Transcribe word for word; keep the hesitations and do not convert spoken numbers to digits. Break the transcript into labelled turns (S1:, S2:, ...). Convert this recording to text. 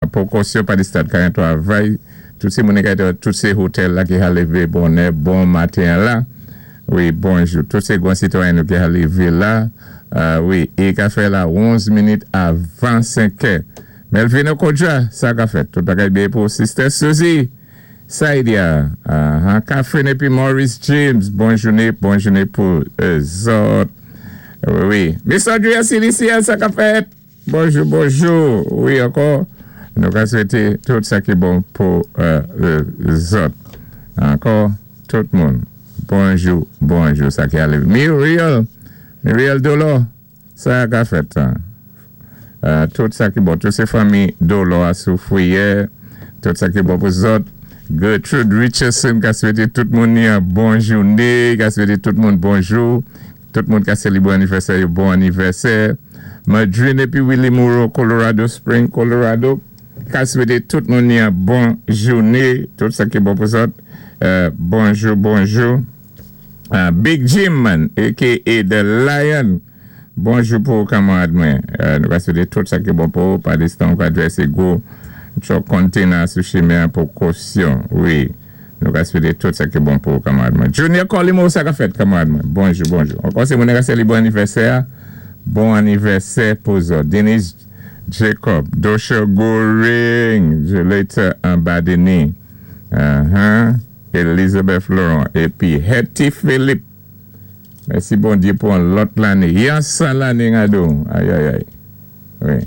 S1: Pwékosyon pa di stad ka twavay. Tout sé moun tout sé hotèl la ki ka lévé bonnè, bon maten la. Wi, bonjou. Tout sé gwan sitwayen nou ki ka lévé la. Wi, é ka fè la onz minit avan senk è. Melvin Okodja, sa ka fèt. Tout bagay byen pou Sister Suzy. Saidia, uh, Catherine épi Maurice James, bon jouné, bon jouné pou zòt. Wi, wi. Miss Andrea Silicia, sa ka fèt. Bonjou, bonjou. Wi, ankò. Nou ka swété tout sa ki bon pou zòt. Ankò, tout moun. Bonjou, bonjou, sa ki ale. Muriel, Muriel Dolo, sa ka fèt. Tout sa ki bon. Tout sé fanmi Dolo a Soufrière. Tout sa ki bon pou zòt. Gertrude Richardson ka swété tout moun ni an bon jouné, ka swété tout moun bonjou. Tout moun ka sélébwé anivèsè, bon anivèsè. Madrine épi Willie Moreau, Colorado Spring, Colorado. Ka swété tout moun ni an bon jouné. Tout sa ki bon pou zòt. Bonjou, bonjou. Big Jim man, A K A. The Lion. Bonjou pou kanmarad mwen. Nou ka swété tout sa ki bon pou pa distan ka dwèsé gwo truck container sou chimen pwékosyon. Wi. Nou ka swété tout sa ki bon pou kanmarad mwen. Junior Colimo, sa ka fèt kanmarad mwen. Bonjou, bonjou. Ankò sé moun ka sélébwé anivèsè. Bon anivèsè pou zòt. Denise Jacob, Dosha Goring, Julita Ambadeni, uh-huh. Elizabeth Laurent, épi Hetty Philippe. Mèsi Bondyé pou an lòt lanné. Yon san lanné ngado. Ay, ay, ay. Wi.